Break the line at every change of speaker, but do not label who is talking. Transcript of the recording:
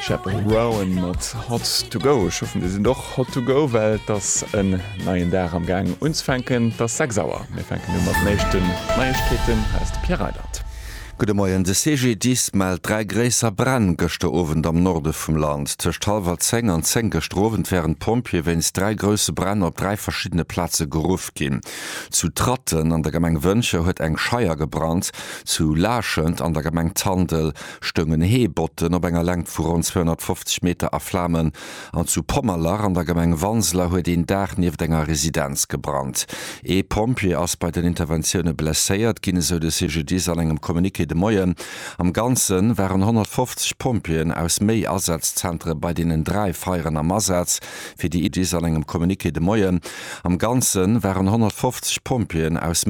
Chappell Roan mat Hot to Go. Ech hoffen dir sidd och hot to go, well et ass en neien Dag am Gaang unzefänken. Et ass 6 Auer. Mir fänken u mat den éischten Neiegkeeten. Hei ass de Pierre Reyland.
Gudde Moien. De CGDIS mellt 3 gréisser Bränn gëschter Owend am Norde vum Land. Tëscht hallwer 10 an 10 gëschter Owend wären d'Pompjeeë wéinst 3 grousse Bränn op 3 verschiddene Plaze geruff ginn. Zu Tratten an der Gemeng Wëntger huet eng Scheier gebrannt. Zu Laaschent an der Gemeng Tandel stoungen Heebotten op enger Längt vu ronn 250 Meter a Flamen an zu Pommerlach an der Gemeng Wanseler huet een Daach nieft enger Residenz gebrannt. Ee Pompjee ass bei den Interventioune blesséiert ginn, esou de CGDIS an engem Communiqué de Moien. Am Ganze waren 150 Pompjeeën aus méi Asazzentere bei deenen 3 Feieren am Asaz, fir déi. DIS an engem Communiqué de Moien. Am Ganze waren 150 Pompjeeën aus.